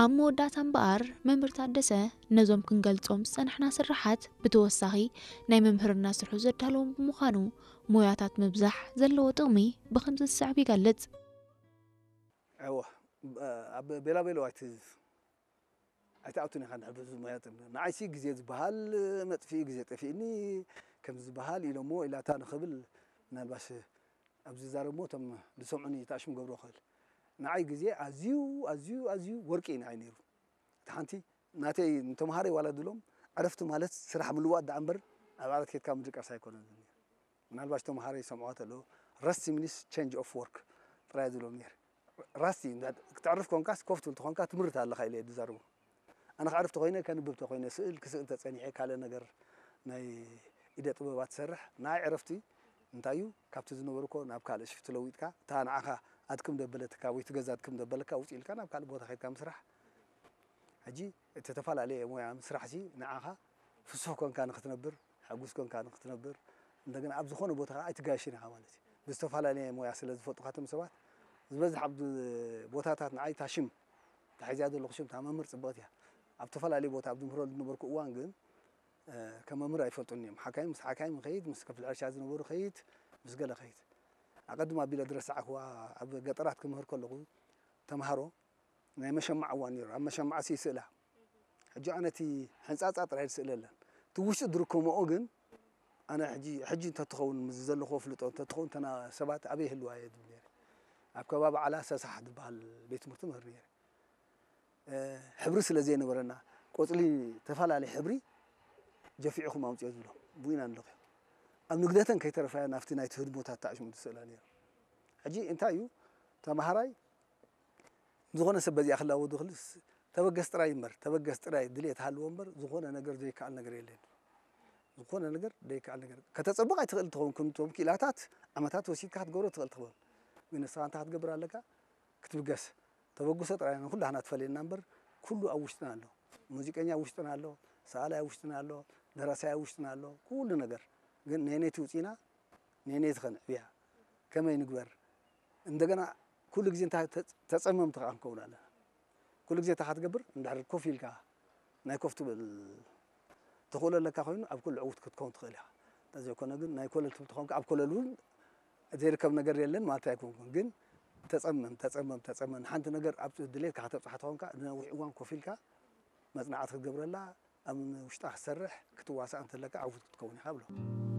ኣብ መወዳእታ እምበኣር፣ መምህር ታደሰ ነዞም ክንገልጾም ዝጸናሕና ስርሓት ብተወሳኺ ናይ መምህርና ስርሑ ዘዳለዎም ብምዃኑ፣ ሞያታት ምብዛሕ ዘለዎ ጥቕሚ ብኸምዚ ዝስዕብ ይገልጽ። እወ፣ ኣብ ቤላቤሎ ኣይት-፣ ኣይትኣቱን ኢኻ እንድሕር በዚ ሞያ ጥምር። ንዓይሲ ግዜ ዝበሃል መጥፍኢ ግዜ ጠፊእኒ ከም ዝበሃል ኢሎሞ ኢላታ ንኽብል ምናልባሽ ኣብዚ ዛረብ ሞ እቶም ዝሰምዑኒ ተኣሽም ገብሮ ክእል። ንዓይ ግዜ ኣዝዩ ኣዝዩ ኣዝዩ ወርቂ እዩ ንዓይ ነይሩ። እቲ ሓንቲ ናተይ ንተምሃረይ ዋላ ድሎም ዕረፍቲ ማለት ስራሕ ምልዋጥ ደኣ እምበር ኣብ ዓራት ኬድካ ምድቃስ ኣይኮነን። ምናልባሽ ተምሃሮ ይሰምዕዋ ተለዉ ረስት ሚኒስ ቸንጅ ኦፍ ወርክ ጥራይ ዝብሎም ነይር። ራስቲ ክትዕርፍ ኮንካስ ኮፍ ትብል ተኾንካ ትምህርት ኣለኻ ኢለ ዝዛርቦ። ኣነ ክዕርፍ ተኾይነ ከንብብ ተኾይነ ስእል ክስእል ተጸኒሐ ካልእ ነገር ናይ ኢደ ጥበባት ትሰርሕ ንኣይ ዕረፍቲ እንታይ እዩ ካብቲ ዝነበርኮ ናብ ካልእ ሽፍቲ ለዊጥካ እታ ንዓኻ ኣድክም ደበለትካ ወይ ትገዛ ኣድክም ደበለካ ውፅ ኢልካ ናብ ካልእ ቦታ ከድካ ምስራሕ ሕጂ እቲ ተፈላለየ ሞያ ምስራሕ ሲ ንዓኻ ፍሱህ ኮንካ ንክትነብር ሕጉስ ኮንካ ንክትነብር እንደገና ኣብ ዝኾነ ቦታ ከዓ ኣይትጋየሽን ኢኻ ማለት እዩ። ብዝተፈላለየ ሞያ ስለ ዝፈልጡካ እቶም ሰባት ዝበዝሕ ኣብ ቦታታት ንዓይ እታ ሽም ተሒዝያ ዘለኹ ሽም እታ መምህር ፅብቕቲ እያ። ኣብ ተፈላለየ ቦታ ኣብ ዝምህረሉ ዝነበርኩ እዋን ግን ከም መምህር ኣይፈልጡን እዮም። ሓካይም ምስ ሓካይም ከይድ ምስ ክፍሊ ሕርሻ ዝነበሩ ከይድ ምስ ገለ ከይድ ኣቐድም ኣቢለ ዝረሳዕክዋ ኣብ ገጠራት ክምህር ከለኹ ተምሃሮ ናይ መሸማዕ እዋን ነይሩ። ኣብ መሸማዕ ሲ ይስእላ። ሕጂ ኣነ እቲ ሕንጻጻ ጥራይ ዝስእለለን እቲ ውሽጢ ዝርከምኦ ግን ኣነ ሕጂ ሕጂ እንተትኸውን ምስ ዘለኹዎ ፍልጦ እንተትኸውን እተና ሰባት ኣበይ ይህልዋ እየ ዝብል ነይረ። ኣብ ከባቢ ዓላ ሰሳሕ ዝበሃል ቤት ትምህርቲ ምህር ነይረ። ሕብሪ ስለ ዘይነበረና ቆጽሊ ተፈላለየ ሕብሪ ጀፊዕኹም ኣምፅኦ ዝብሎ ብኡ ኢና ንለኽዮ። ኣብ ንግደተን ከይተረፋ ናብቲ ናይቲ ህድሞታት ተኣሽሙ ዝስእላ ነይሩ። ሕጂ እንታይ እዩ ተምሃራይ ዝኾነ ሰብ በዚኣ ክላወ ዝኽልስ ተበገስ ጥራይ እምበር ተበገስ ጥራይ ድልየት ሃልዎ እምበር ዝኾነ ነገር ዘይከኣል ነገር የለን። ዝኾነ ነገር ዘይከኣል ነገር ከተፀብቕ ኣይትኽእል ትኸውን ክንቶም ክኢላታት ዓመታት ወሲድካ ክትገብሮ ትኽእል ትኽበብ ግን ንስኻ እንታይ ክትገብር ኣለካ ክትብገስ ተበግሶ ጥራይ ንኩላህና ትፈልየና እምበር ኩሉ ኣብ ውሽጥና ኣሎ። ሙዚቀኛ ኣብ ውሽጥና ኣሎ፣ ሰኣላይ ኣብ ውሽጥና ኣሎ፣ ደራሳይ ኣብ ውሽጥና ኣሎ፣ ኩሉ ነገር ግን ነየነይቲ ውፂና ነየነይቲ ከንዕብያ ከመይ ንግበር እንደገና ኩሉ ግዜ እንታይ ተፀመምቲ ከዓ ክንከውን ኣለና። ኩሉ ግዜ እንታይ ክትገብር እንድሕር ኮፍ ኢልካ ናይ ኮፍ ትብል ተኽእሎ ኣለካ ኮይኑ ኣብ ኩሉ ዕውት ክትከውን ትኽእል ኢኻ። እንተዘይኮነ ግን ናይ ኮለል ትብል ተኾንካ ኣብ ኮለል እውን ዘይርከብ ነገር የለን ማለት ኣይኮንኩን። ግን ተፀመም ተፀመም ተፀመም ንሓንቲ ነገር ኣብ ድሌትካ ከተብፅሓ ተኾንካ ንነዊሕ እዋን ኮፍ ኢልካ መፅናዕቲ ክትገብረላ ኣብ ውሽጣ ክትሰርሕ ክትዋሳእ እንተለካ ዕውት ክትከውን ኢኻ ብሎ።